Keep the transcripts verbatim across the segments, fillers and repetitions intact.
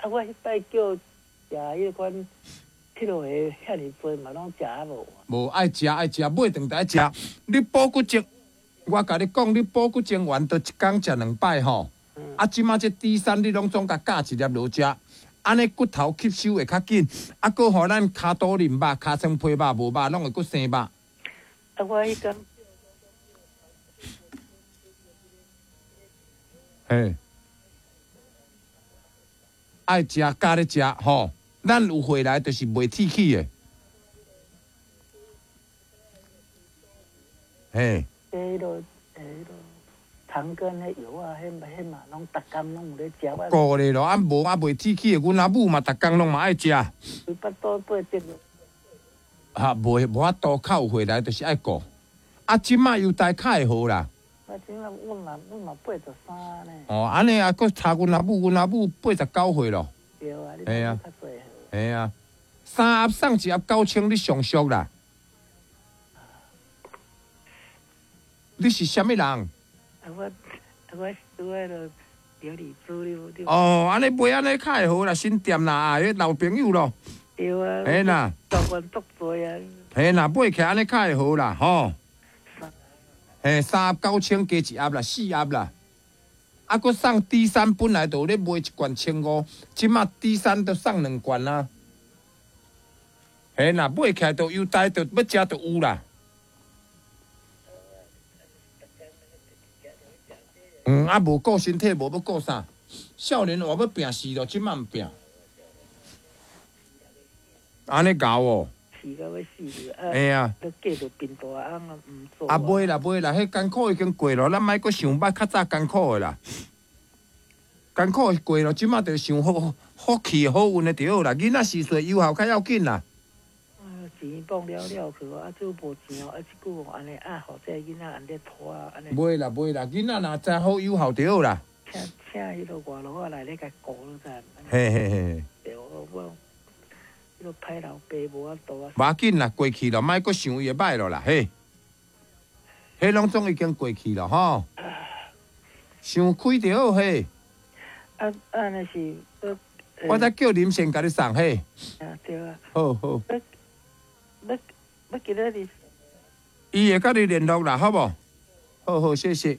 啊，我彼擺叫食彼款鐵落的遐爾濟嘛，攏食啊無。無愛食愛食，買轉來愛食。你補骨精，我共你講，你補骨精丸都一工食兩擺吼。啊，這馬這 D 三你攏總共加一粒落食，按呢骨頭吸收會較緊。啊，閣予咱跤肚淋肉、尻川皮肉無肉，攏會閣生肉。啊，我彼工。嘿，愛食加咧食吼，咱有回來就是袂鐵齒的。嘿。欸，彼落，欸，彼落，長庚的藥啊，彼彼嘛攏逐工攏有咧食。顧咧咯，啊無啊袂鐵齒的，阮阿母嘛，逐工攏嘛愛食。伊腹肚八折。啊，無無法度，較有回來就是愛顧。啊，這馬又大較會好啦。啊，這馬阮嘛阮嘛八十三呢。哦，按呢啊，閣差阮阿母，阮阿母八十九歲咯。對啊，你嘿啊較濟歲。嘿啊，三盒送一盒九千，你上俗啦。你是啥物人？啊，我啊我拄仔落琉璃珠，你你。哦，按呢買按呢較會好啦，新店啦，啊，彼老朋友咯。對啊。嘿啦。台灣足濟啊。嘿啦，買起來按呢較會好啦，吼。嘿，三盒九千加一盒啦，四盒啦。啊，閣送 D 三，本來就有咧賣一罐千五，這馬 D 三都送兩罐啦。嘿啦，買起來就優待，就欲食就有啦。嗯，啊，無顧身體，無欲顧啥？少年話欲拼死咯，這馬毋拼。按呢𠢕哦。死到欲死去啊！嘿啊！都嫁著貧大翁啊，毋做。啊，袂啦，袂啦，彼艱苦已經過咯，咱莫閣想捌較早艱苦的啦。艱苦過咯，這馬就想福福氣好運的就好啦。囡仔時歲有效較要緊啦。啊，錢放了了去，啊，這無錢哦，啊，這久按呢啊，予這囡仔按呢拖啊，按呢。袂啦，袂啦，囡仔若知好有效就好啦。請請彼个外勞仔來咧共顧了才。嘿嘿嘿。對，我我。彼歹老爸無法度啊！無要緊啦，過去咯，莫閣想伊的歹咯啦，嘿，彼攏總已經過去咯，吼。想開就好，嘿。啊啊，若是我再叫林先共你送，嘿。啊，對啊。好好。欲欲欲今仔日。伊會佮你聯絡啦，好無？好好，謝謝。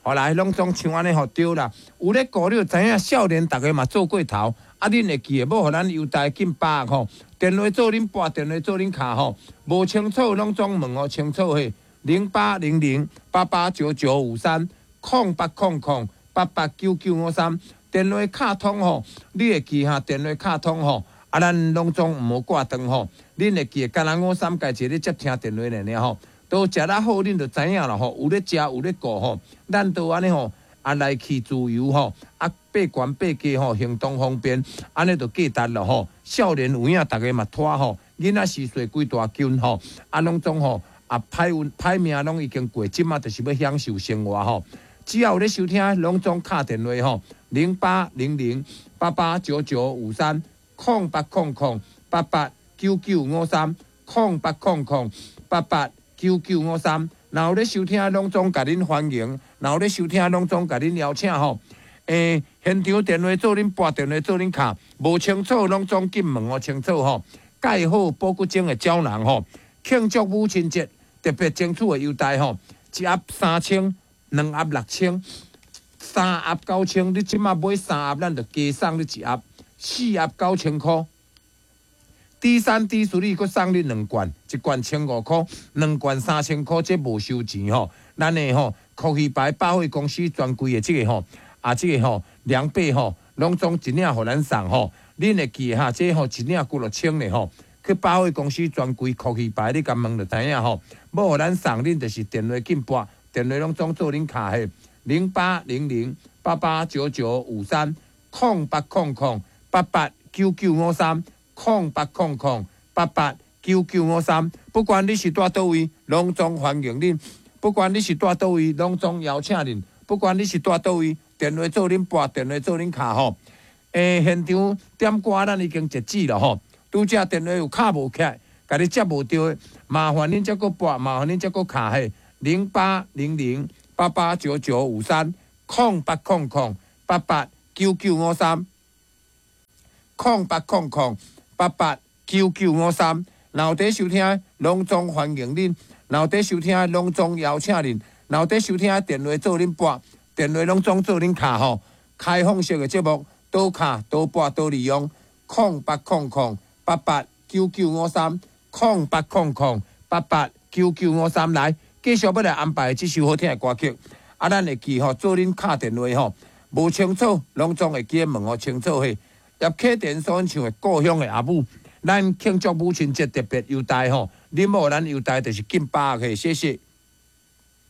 好啦，攏總像按呢吼，對啦。有咧顧，你就知影，少年逐个嘛做過頭。啊，恁會記得，欲予咱優待緊百吼，電話做恁撥，電話做恁敲吼，無清楚攏總問予清楚嘿。零八零零八八九九五三，空八空空八八九九五三，電話敲通吼，你會記哈？電話敲通吼，啊，咱攏總毋好掛斷吼。恁會記得，敢若五三家一個咧接聽電話爾爾吼，都食得好，恁就知影啦吼。有咧食，有咧顧吼，咱都按呢吼。啊，來去自由吼，啊，爬懸爬低吼，行動方便，按呢就價值咯吼。少年有影，逐个嘛拖吼，囡仔時歲規大群吼，啊，攏總吼，啊，歹運歹命攏已經過，這馬就是欲享受生活吼。只要有咧收聽，攏總敲電話吼，零八零零八八九九五三，空八空空八八九九五三，空八空空八八九九五三。若有咧收聽，攏總共恁歡迎；若有咧收聽，攏總共恁邀請吼。欸，現場電話做恁撥，電話做恁敲，無清楚攏總緊問予清楚吼。蓋好補骨精的膠囊吼，慶祝母親節特別爭取的優待吼，一盒三千，兩盒六千，三盒九千。你這馬買三盒，咱就加送你一盒，四盒九千箍。D 三 D 四你閣送你兩罐，一罐千五箍，兩罐三千箍，這無收錢吼。咱的吼，科學牌百貨公司專櫃的這個吼，啊這個吼，兩百吼，攏總一領予咱送吼。恁會記得哈？這吼一領幾落千的吼，去百貨公司專櫃科學牌，你共問就知影吼。欲予咱送，恁就是電話緊撥，電話攏總做恁敲的零八零零八八九九五三空八空空八八九九五三。空八空空八八九九五三，不管你是蹛佗位，攏總歡迎恁；不管你是蹛佗位，攏總邀請恁；不管你是蹛佗位，電話做恁撥，電話做恁敲吼。欸，現場點歌咱已經截止了吼。拄則電話有敲無起來，共你接無著的，麻煩恁再閣撥，麻煩恁再閣敲嘿，零八零零八八九九五三，空八空空八八九九五三。空八空空八八九九五三。若有佇收聽，攏總歡迎恁；若有佇收聽，攏總邀請恁；若有佇收聽，電話做恁撥，電話攏總做恁敲吼。開放式的節目，倒敲倒撥倒利用，空八空空八八九九五三，空八空空八八九九五三來，繼續欲來安排這首好聽的歌曲。啊，咱會記吼，做恁敲電話吼，無清楚，攏總會記得問予清楚嘿。葉啟田所唱的《故鄉的阿母》，咱慶祝母親節特別優待吼，恁某咱優待就是敬百嘿，謝謝。